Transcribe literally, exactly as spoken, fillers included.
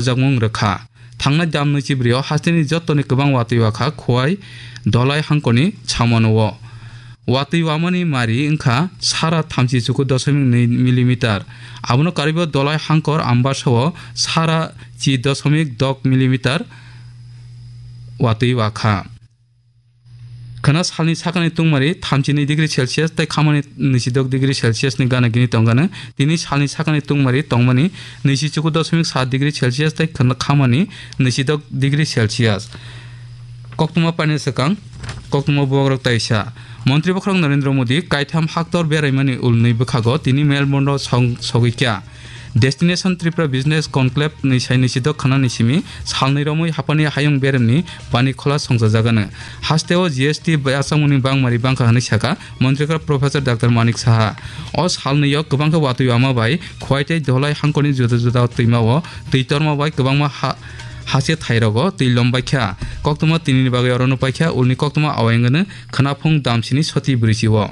jakmung rwkha. Thangnai dam nwichi brio hasteni jottoni kwbang watwi wakha Khowai Dholai hangkoni chamano o. Watwi wamani mari wngkha sara thamchi chuku dosomik nwi millimeter. Abono karwibo Dholai hangkor Ambasao sara chi dosomik dok millimeter watwi wakha. Khwna salni sakani tungmari thamchi nwi degree Celsius tei khamani nwichi dok degree Celsius ni gana gini tongkha. Tini salni sakani tungmari tongmani nwichi chuku dosomik sat degree Celsius tei khwna khamani nwichi dok degree Celsius. Koktwma paina swkang, koktwma bubagrok taisa. Montri bokhorok Narendra Modi kaitham haktor beraimani ulni bwkhago tini Melbourne-o song-, sogwi kha. Destination Tripura Business Conclave ni sai nwichi dok khwnani simi salnwi romwi hapani hayung beremni bani khola songchajagano. Hasteo G S T bachangmungni bangmari bangkha hwnwi sakha Montrikar Professor Doctor Manik Saha. O salnwio kwbangkha watwi wama bai Khowai tei Dholai hangkorni juda juda twimao twi torma bai kwbangma ha-, hase thairogo twi lombaikha. Koktwma tinini bagwi orono paikha, ulni koktwma awai wngkha khwnaphung damsini soti bwrwichio.